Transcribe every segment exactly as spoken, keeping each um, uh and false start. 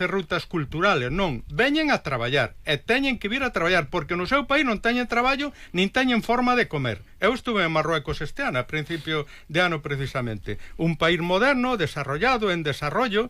rutas culturales, non, veñen a traballar e teñen que vir a traballar porque no seu país non teñen traballo nin teñen forma de comer. Eu estuve en Marruecos este ano, a principio de ano precisamente, un país moderno, desarrollado, en desarrollo,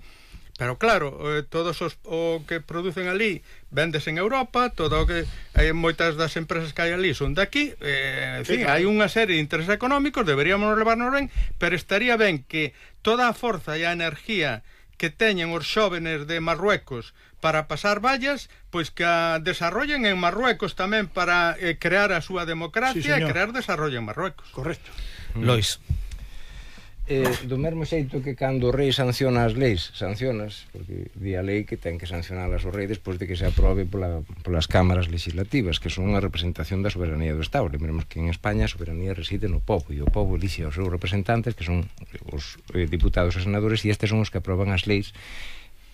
pero claro, eh, todos os o que producen ali vendes en Europa, todo o que eh, moitas das empresas que hai ali son daqui, eh, en fin, hai unha serie de intereses económicos, deberíamos levarnos ben, pero estaría ben que toda a forza e a energía que teñen os xóvenes de Marruecos para pasar vallas, pois que a desarrollen en Marruecos tamén para eh, crear a súa democracia sí, e crear desarrollo en Marruecos. Correcto. Mm. Lois. Eh, do mesmo xeito que cando o rei sanciona as leis, sancionas, porque di a lei que ten que sancionalas o rei despois de que se aprobe pola, polas cámaras legislativas, que son unha representación da soberanía do Estado. Lembremos que en España a soberanía reside no povo, e o povo elixe os seus representantes, que son os eh, diputados e senadores, e estes son os que aproban as leis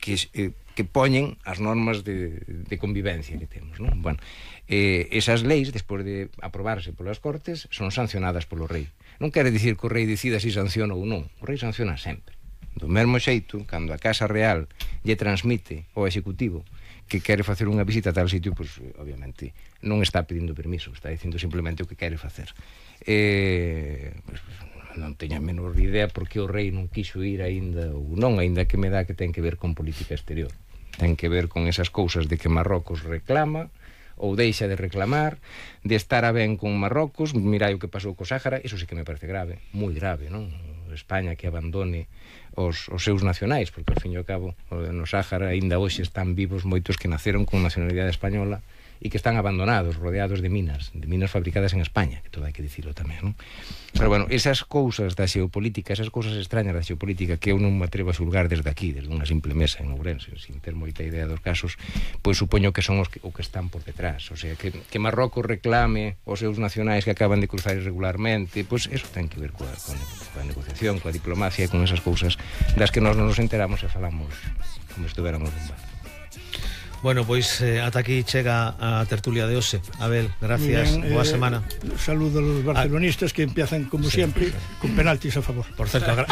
que, eh, que poñen as normas de, de convivencia que temos, non? Bueno, eh, esas leis, despois de aprobarse polas Cortes, son sancionadas polo rei. Non quere dicir que o rei decida se sanciona ou non. O rei sanciona sempre. Do mesmo xeito, cando a Casa Real lle transmite ao Executivo que quere facer unha visita a tal sitio, pois, obviamente, non está pedindo permiso, está dicindo simplemente o que quere facer. Eh, pois, non teña a menor idea porque o rei non quiso ir aínda ou non, aínda que me dá que ten que ver con política exterior. Ten que ver con esas cousas de que Marrocos reclama ou deixa de reclamar, de estar a ben con Marrocos. Mirai o que pasou co Sáhara, iso sí que me parece grave, moi grave, non? España que abandone os, os seus nacionais, porque ao fin e ao cabo no Sáhara aínda hoxe están vivos moitos que naceron con nacionalidade española e que están abandonados, rodeados de minas, de minas fabricadas en España, que todo hai que dicilo tamén, non? Pero bueno, esas cousas da xeopolítica, esas cousas extrañas da xeopolítica que eu non me atrevo a xulgar desde aquí, desde unha simple mesa en Ourense, sin ter moita idea dos casos, pois supoño que son os que, o que están por detrás. O sea, que, que Marrocos reclame os seus nacionais que acaban de cruzar irregularmente, pois eso ten que ver coa, coa, coa negociación, coa diplomacia e con esas cousas das que nós non nos enteramos e falamos como se estuveramos nun bar. Bueno, pois eh, ata aquí chega a tertulia de hoxe. Abel, gracias, bien, boa eh, semana. Saludo a los barcelonistas que empiezan como sí, siempre con penaltis a favor. Por certo, agra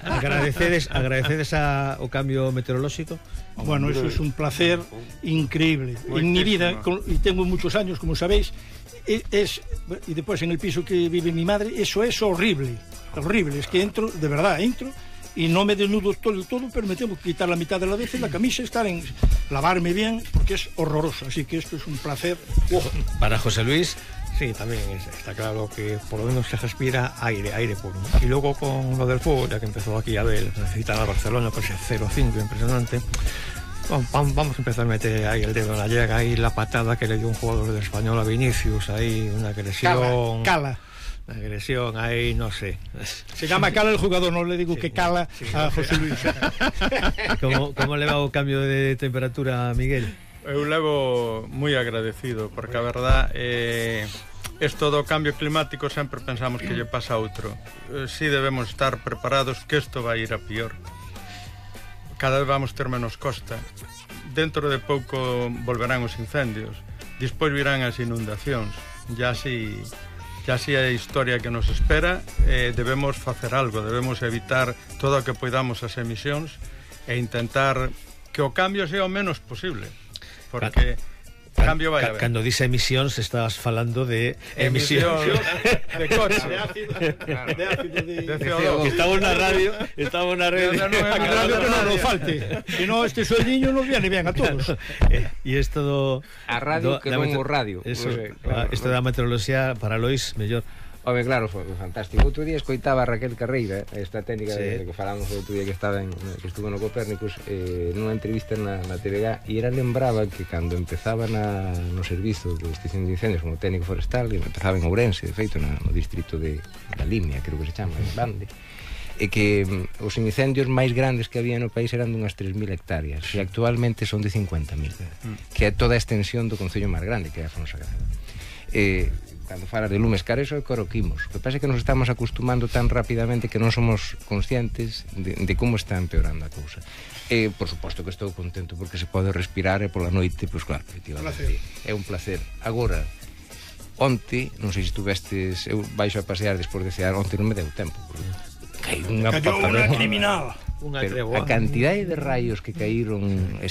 agradecedes, agradecedes a, o cambio meteorolóxico. Bueno, eso es un placer increíble. En mi vida, con, y tengo muchos años, como sabéis, es, y después en el piso que vive mi madre, eso es horrible, horrible. Es que entro, de verdad, entro y no me desnudo todo el todo, pero me tengo que quitar la mitad de la vez la camisa, estar en lavarme bien, porque es horroroso. Así que esto es un placer. Oh. Para José Luis. Sí, también es, está claro que por lo menos se respira aire, aire puro, ¿no? Y luego con lo del fuego, ya que empezó aquí a ver, necesitan a Barcelona, pues es cero cinco, impresionante. Vamos a empezar a meter ahí el dedo en la llaga, ahí la patada que le dio un jugador de Español a Vinicius, ahí una agresión. Cala, cala. La agresión ahí, no sé. Se llama Cala el jugador, no le digo sí, que Cala sí, a José Luis. ¿Cómo, ¿Cómo le va o cambio de temperatura a Miguel? Eu levo moi agradecido, porque a verdad eh, esto do cambio climático sempre pensamos que lle pasa a outro. Eh, si debemos estar preparados que isto vai ir a pior. Cada vez vamos ter menos costa. Dentro de pouco volverán os incendios, despois virán as inundacións. Ya si ya si a historia que nos espera, eh, debemos facer algo, debemos evitar todo o que poidamos as emisións e intentar que o cambio sea o menos posible, porque Can, cambio vai a haber. Cando dice emisións estás falando de emisións de coche, de ácido, de ácido de, de C O dos. Estamos na radio, estamos na radio. A radio que non nos falte. Si no, este sueldiño nos viene bien a todos. E isto do a radio do, que non o radio. Eso, pues, claro, isto da meteoroloxía para Lois mellor. Home, claro, foi fantástico. Outro día escoitaba a Raquel Carreira, esta técnica sí. de que falamos outro día que estaba en, que estuvo no Copérnicos, eh, nunha entrevista na, na T V G, e era lembraba que cando empezaba na, no servizo de extinción de incendios como técnico forestal, e empezaba en Ourense, de feito, na, no distrito de da Limia, creo que se chama, en Bande, e que um, os incendios máis grandes que había no país eran dunhas tres mil hectáreas, e actualmente son de cincuenta mil, mm. que é toda a extensión do concello máis grande, que é a Fonsagrada. Eh, cando falas de lumes caros, eso é coroquimos. O que pasa é que nos estamos acostumando tan rapidamente que non somos conscientes de, de como está empeorando a cousa. E, por suposto que estou contento porque se pode respirar e pola noite, pois claro, efectivamente, é un placer. Agora, onte, non sei se estuvestes, eu baixo a pasear despois de cear, onte non me deu tempo, porque cai unha cayó unha criminal. Pero a cantidade de raios que caíron